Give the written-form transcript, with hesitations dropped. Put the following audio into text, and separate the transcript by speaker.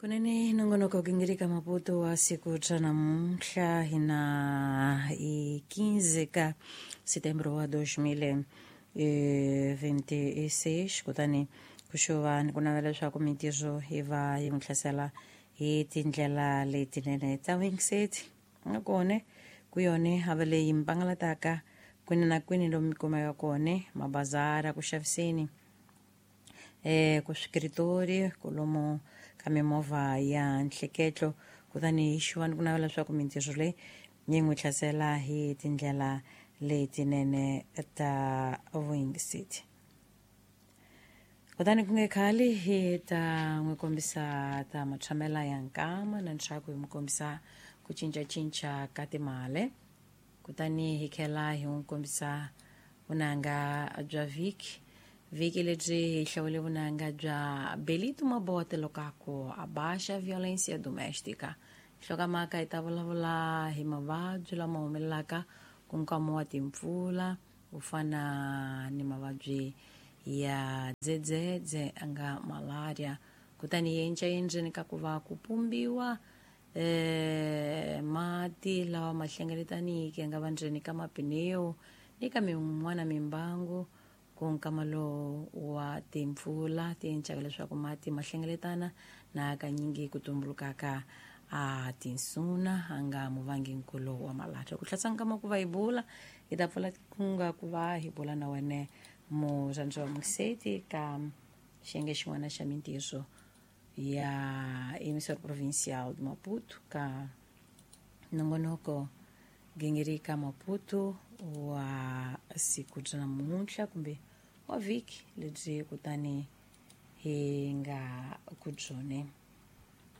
Speaker 1: Kunene nongonoko gingirika Maputo wa siku ra namuntlha hina i 15 ka setembro wa 2026. Kutani ku xuva ni ku navela leswaku mintirho yi va yi n'wi hlasela hi tindlela letinene ta wingiseti nakone ku yone hava leyi mi pangalataka kwini na kwini lomu mi kumeka kone mabazara ku xaviseni, ku swikiritori kolomo ka mimovha ya nhleketlo. Kutani hi xuva ni ku navela leswaku mintirho leyi yi n'wi hlasela hi tindlela letinene ta vuyingiseti. Kutani ku nge khali hi ta n'wi kombisa ta matshamela ya nkama na ntshaku hi n'wi kombisa ku cincacinca ka timali. Kutani hi tlhela hi n'wi kombisa vunanga bya vhiki. Vhiki lebyi hi hlawule vunanga bya Belito Mabote Lokaku a baixa violência doméstica. Nhlokomhaka hi ta vulavula hi mavabyi lama humelelaka ku nkama wa timpfula ku fana ni mavabyi ya dzedzedze a nga malaria. Kutani hi encaendzeni ka ku va ku pumbiwa mati lawa ma hlengeletaniki ya nga va ndzeni ka mapineu ni ka min'wana mimbangu ku nkama lowu wa timpfula ti encaka leswaku mati ma hlengeletana na hakanyingi ku tumbulukaka a tinsuna a nga muvanginkulu wa malaria. Ku hlatsa nkama ku va hi bula hi ta pfula ku nga ku va hi bula na wene murhandzi wa museti ka xiyenge xin'wana xa mintirho ya emissora provincial de Maputo ka nongonoko gingirika Maputo wa siku ra namuntlha kumbe wa vhiki lebyi kutani hi nga ku byone.